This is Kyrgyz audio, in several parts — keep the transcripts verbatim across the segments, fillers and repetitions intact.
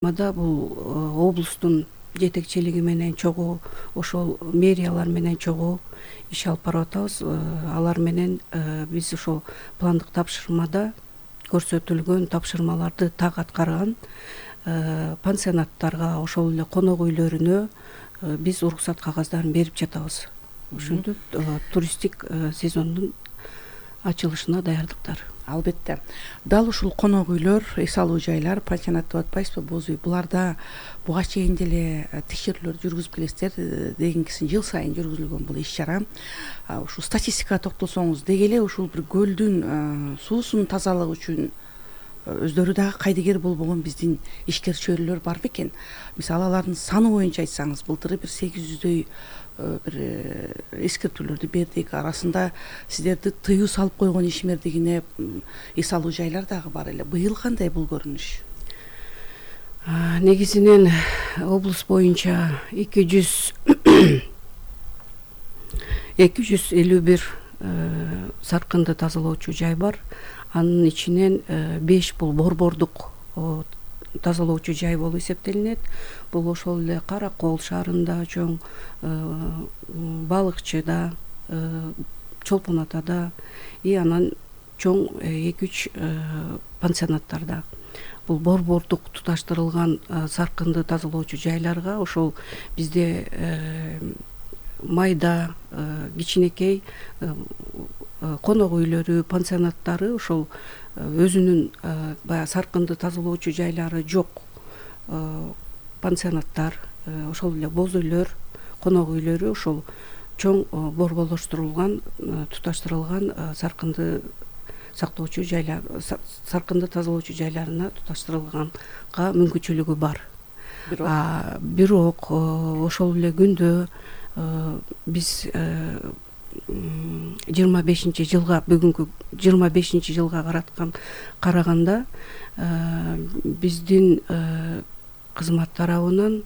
Бул облустун жетекчилиги менен чогуу ошол мэриялар менен чогуу иш алып барып атабыз. Алар менен биз ошол пландык тапшырмада көрсөтүлгөн тапшырмаларды так аткарган пансионаттарга, ошол эле конок үйлөрүнө биз уруксат кагаздарын берип жатабыз. Ошентип туристтик сезондун ачылышына даярдыктар. Албетте. Дал ушул конок үйлөр, эс алуу жайлар, пансионат деп атпайсызбы, боз үй. Буларда буга чейин деле текшерүүлөр жүргүзүп келесиздер. Дегенкисин жыл сайын жүргүзүлгөн бул иш чара. Ушул статистикага токтолсоңуз, деги эле ушул бир көлдүн суусунун тазалыгы үчүн өздөрү дагы кайдыгер болбогон биздин ишкер чөйрөлөр бар бекен? Мисалы алардын саны боюнча айтсаңыз, былтыры бир сегиз жүздөй бир эскертүүлөрдү бердик. Арасында сиздерди тыюу салып койгон ишмердигине эс алуу жайлар дагы бар эле. Быйыл кандай бул көрүнүш? Негизинен облус боюнча эки жүз эки жүз элүү бир саркынды тазалоочу жай бар. Анын ичинен беш бул борбордук тазалоочу жай болуп эсептелинет. Бул ошол эле Кара Кол шаарында, чоң Балыкчыда, Чолпон Атада и анан чоң эки үч пансионаттарда. Бул борбордук туташтырылган саркынды тазалоочу жайларга ошол бизде майда, кичинекей конок үйлөрү, пансионаттары ошол өзүнүн баягы саркынды тазалоочу жайлары жок пансионаттар, ошол эле боз үйлөр, конок үйлөрү ошол чоң борборлоштурулган, туташтырылган саркынды сактоочу жайлар, саркынды тазалоочу жайларына туташтырылганга мүмкүнчүлүгү бар. Бирок ошол эле күндө биз жыйырма бешинчи жылга, бүгүнкү жыйырма бешинчи жылга караткан караганда биздин кызмат тарабынан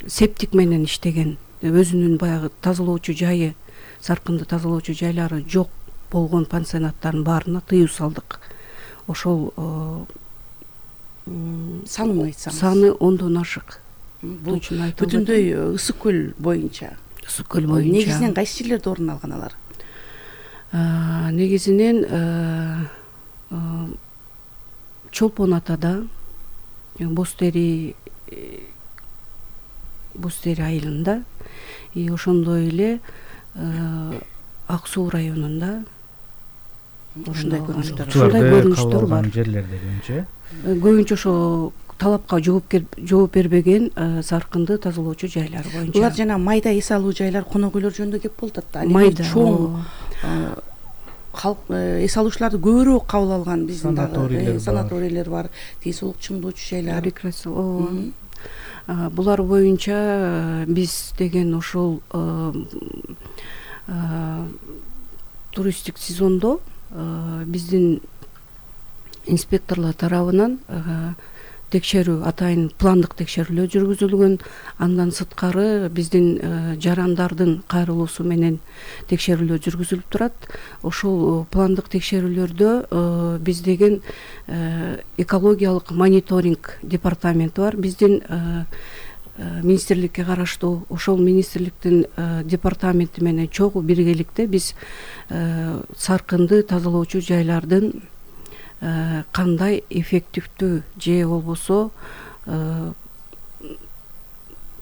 септик менен иштеген, өзүнүн баягы тазалоочу жайы, саркынды тазалоочу жайлары жок болгон пансионаттардын баарына тыюу салдык. Ошол санын айтсаңыз. Саны ондон ашык. Бул бүтүндөй Ысык көл боюнча. Ысык көл боюнча. Негизинен кайсы жерлерде орун алган алар? Негизинен Чолпон Атада, Боз Тери Боз Тери айылында, и ошондой эле Ак Суу районунда ушундай көрүнүштөр ушундай көрүнүштөр бар. Жерлерде көбүнчө көбүнчө ошо талапка жооп бербеген саркынды тазалоочу жайлар боюнча. Булар жана майда эс алуу жайлар, конок үйлөр жөнүндө кеп болуп атат. Майда чоң калк эс алуучуларды көбүрөөк кабыл алган биздин дагы санаторийлер бар, тез-сулук чыңдоочу жайлар. Булар боюнча биз деген ошол туристтик сезондо биздин инспекторлор тарабынан текшерүү, атайын пландык текшерүүлөр жүргүзүлгөн. Андан сырткары биздин жарандардын кайрылуусу менен текшерүүлөр жүргүзүлүп турат. Ошол пландык текшерүүлөрдө биз деген экологиялык мониторинг департаменти бар. Биздин министрликке караштуу ошол министрликтин департаменти менен чогуу биргеликте биз саркынды тазалоочу жайлардын кандай эффективдүү же болбосо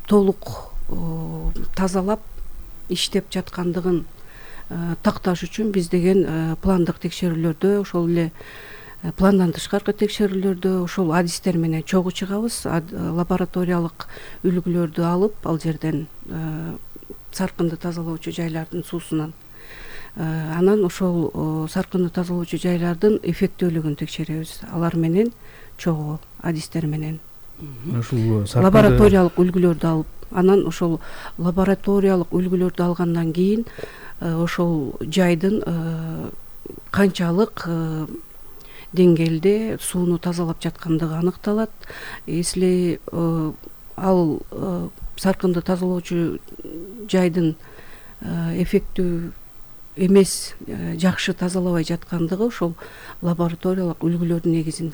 толук тазалап иштеп жаткандыгын такташ үчүн биз деген пландык текшерүүлөрдө, ошол эле пландан тышкаркы текшерүүлөрдө ошол адистер менен чогуу чыгабыз. Лабораториялык үлгүлөрдү алып, ал жерден саркынды тазалоочу жайлардын суусунан анан ошол саркынды тазалоочу жайлардын эффектүүлүгүн текшеребиз. Алар менен чогуу адистер менен ушул лабораториялык үлгүлөрдү алып, анан ошол лабораториялык үлгүлөрдү алгандан кийин ошол жайдын канчалык деңгээлде сууну тазалап жаткандыгы аныкталат. Если ал саркынды тазалоочу жайдын эффектүү эмес, жакшы тазалабай жаткандыгы ошол лабораториялык үлгүлөрдүн негизинде